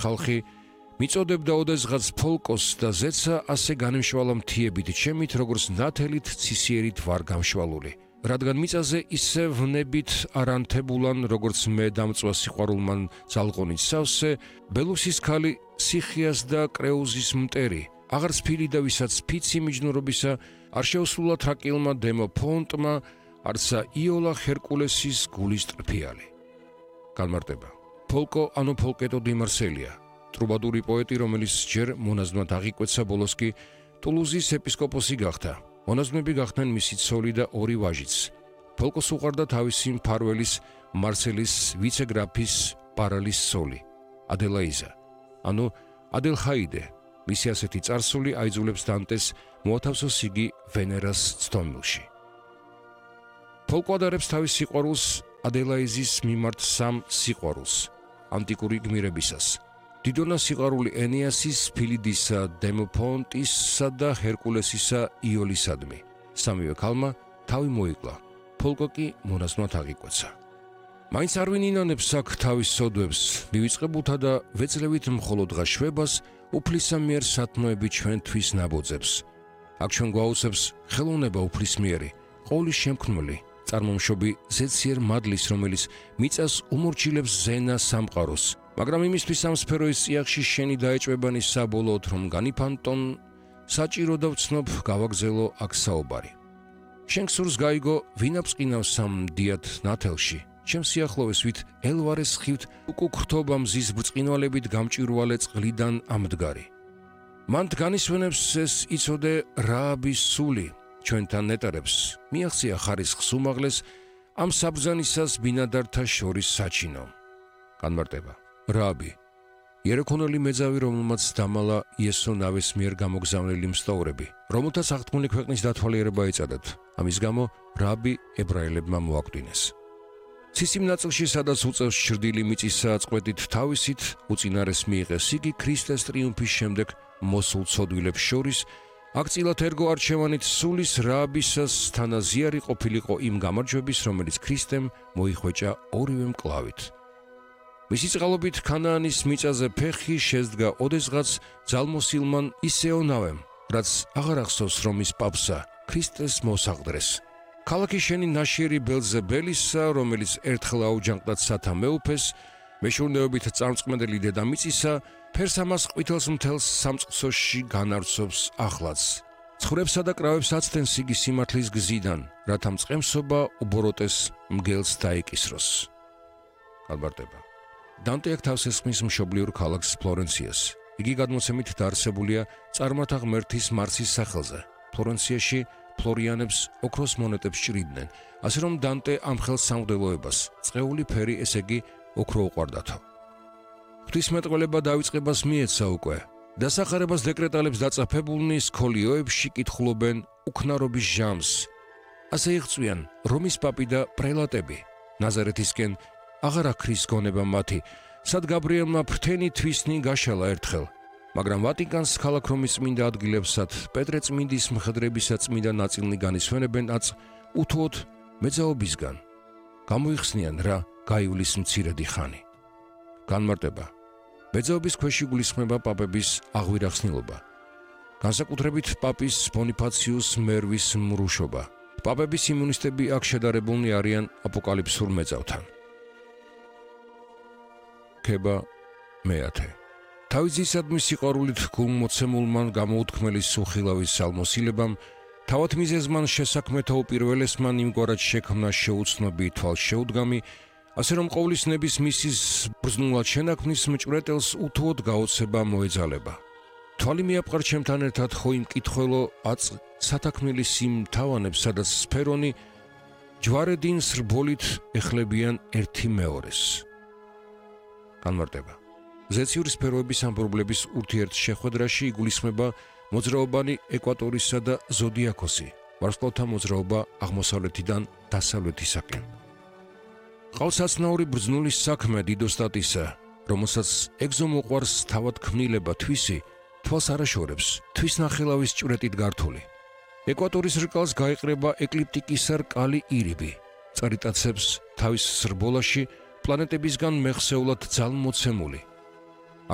ხალხი მიწოდებდა ოდესღაც ფოლკოს და ზეცა ასე განემშვალა მთიებით ჩემით, როგორც ნათელით ცისიერით ვარ გამშვალული. რადგან მიწაზე ისე ვნებით არანთებულან, როგორც მე დამწვა სიყვარულმან ძალღონით სავსე, ბელუსის ქალი სიხიას და კრეუზის მტერი, აღარ სფილი და ვისაც ფიცი მიჯნურობისა, არ შეუსრულა თრაკილმა დემოფონტმა, არცა იოლა ჰერკულესის გულის ტრფიალი. განმარტება. ფოლკო ანუ ფოლკეტო დი მარსელია, ტრუბადური პოეტი, რომელიც ჯერ მონაზვნად აღიკვეცა, ბოლოს კი ტულუზის ეპისკოპოსი გახდა. მონაზვნები გახდნენ მისი ცოლი და ორი ვაჟიც. ფოლკოს უყვარდა თავისი მფარველის მარსელის ვიცეგრაფის პარალის ცოლი, ადელაიზა, ანუ ადელხაიდე. მისი ასეთი წარსული აიძულებს დანტეს მოათავსოს იგი ვენერას ცდომილში. ფოლკო ადარებს თავის სიყვარულს ადელაიზის მიმართ სამ სიყვარულს, ანტიკური გმირებისას. დიდონა სიყვარული ენეასის, ფილიდისა, დემოფონტისა და ჰერკულესისა იოლისადმი. სამივე ქალმა თავი მოიკლა, ფოლკო კი მონაზვნად აღიკვეცა. მაინც არ ვინინანებს აქ თავის სოდვებს, მივიწყებულთა და ვეძლევით მხოლოდ შვებას, უფლისა მიერ სათნოები ჩვენთვის ნაბოძებს. აქ ჩვენ გვაუწევს ხელოვნება უფლისმიერი, ყოვლის შემქმნელი, წარმომშობი ზეციერ მადლის, რომელიც მიწას უმორჩილებს ზენა სამყაროს, მაგრამ იმისთვის ამ სფეროის წიაღში შენი დაეჭვებანი საბოლოოდ რომ განიფანტონ, საჭირო და ვცნობ გავაგზელო აქ საუბარი. შენ გსურს გაიგო, ვინაფსყინავს ამ დიად ნათელში, ჩემ სიახლოვეს ვით ელვარეს ხივთ უკუქრთობა მზის ბრწყინვალებით გამჭვირვალე წყლიდან ამდგარი. მან განისვენებს ეს იცოდე რააბის სული, ჩვენთან ნეტარებს, მიაღწია ხარისხს უმაღლეს, ამ საბრძანისას ბინადართა შორის საჩინო. განმარტება. რააბი, იერქონელი მეძავი, რომელმაც დამალა იესო ნავის მიერ გამოგზავნილი მსტავრები, რომელთაც აღთქმული ქვეყნის დათვალიერება ეწადათ. ამის გამო რააბი ებრაელებმა მოაკვდინეს. ცისიმ ნაწილში, სადაც უწევს ჩრდილი მიწისა წყვეტით თავისით, უწინარეს მიიღეს იგი ქრისტეს ტრიუმფის შემდეგ მოსულ ცოდვილებს შორის, აქ წილად ერგო არჩევანით სულის რააბისას თანაზიარი ყოფილიყო იმ გამარჯვების, რომელიც ქრისტემ მოიხვეჭა ორივე მკლავით. მისი წყალობით ქანაანის მიწაზე ფეხი შესდგა ოდესღაც ძალმოსილმან ისეონავემ, რაც აღარ ახსოვს რომ ის პაპსა, ქრისტეს მოსაყდრეს. ქალაქი შენი ნაშიერი ბელზებელისა, რომელიც ერთხელ აუჯანყდა სათა მეუფეს, მეშურნეობით წარმწყმედელი დედამიწისა, ფერს ამას ყვითელს მთელს სამწყსოში განარცობს ახლაც. ცხვრებსა და კრავებს აცდენს იგი სიმართლის გზიდან, რათა მწყემსობა უბოროტეს მგელს დაეკისროს. განმარტება. დანტე აქ თავს ესხმის მშობლიურ ქალაქს ფლორენციას. იგი გადმოცემით დაარსებულია წარმართა ღმერთის მარსის სახელზე. ფლორენციაში ფლორიანებს ოქროს მონეტებს ჭრიდნენ, ასე რომ დანტე ამ ხელს სამღვდელოებას, წყეული ფერი, ესე იგი ოქრო უყვარდათო. ღვთისმეტყველება დავიწყებას მიეცა უკვე. დასახარებას დეკრეტალებს დაწაფებულნი სქოლიოებში კითხულობენ უქნარობის ჟამს. ასე იღწვიან რომის პაპი და პრელატები. ნაზარეთისკენ აღარ აქრის გონება მათი, სად გაბრიელმა ფრთენი თვისნი გაშალა ერთხელ. მაგრამ ვატიკანს ქალაქ რომის წმინდა ადგილებსად პეტრე წმინდის მხედრებისა წმინდა ნაწილნი განისვენებენ აწ უთუოდ მეძაობისგან. გამოიხსნიან რა გაივლის მცირედი ხანი. განმარტება. მეძაობის ქვეშ იგულისხმება პაპების აღვირახსნილობა. განსაკუთრებით პაპის ბონიფაციუს მერვის მრუშობა. პაპების იმუნისტები აქ შედარებულნი არიან აპოკალიფსურ მეძავთან. ქება მეათე. თავისისადმი სიყვარულით გულმოცემულმან გამოუთქმელი სუხილავის სალმოსილებამ, თავად მიზეზმან შესაქმეთა უპირველესმან იმგვარად შექმნა შეუცნობი თვალშეუდგამი, ასე რომ ყოვლის ნების მისის ბრძნულად შენაქმნის მჭვრეტელს უთუოდ გაოცება მოეძალება. თვალი მიაპყარ ჩემთან ერთად ხო იმ კითხველო აწ სათაქმნილი სიმ თავანებს, სადაც სფერონი ჯვარედინ სრბოლით ეხლებიან ერთი მეორეს. განმარტება. ზეციური სფეროების ამბრობლების ურთიერთშეხვედრაში იგულისხმება მოძრაობანი ეკვატორისა და ზოდიაქოსი, ვარსკვლავთა მოძრაობა აღმოსავლეთიდან დასავლეთისაკენ. ყავს აცნაური ბრძნულის საქმე დიდოსტატისა, რომელსაც ეგზომოყვარს თავად ქმნილება თვისი, თვალს არაშორებს, თვის ნახელავის ჭვრეტით გართული. ეკვატორის რკალს გაეყრება ეკლიპტიკისა რკალი ირიბი, წარიტაცებს თავის სრბოლაში პლანეტებისგან მეხსეულად ძალმოცემული,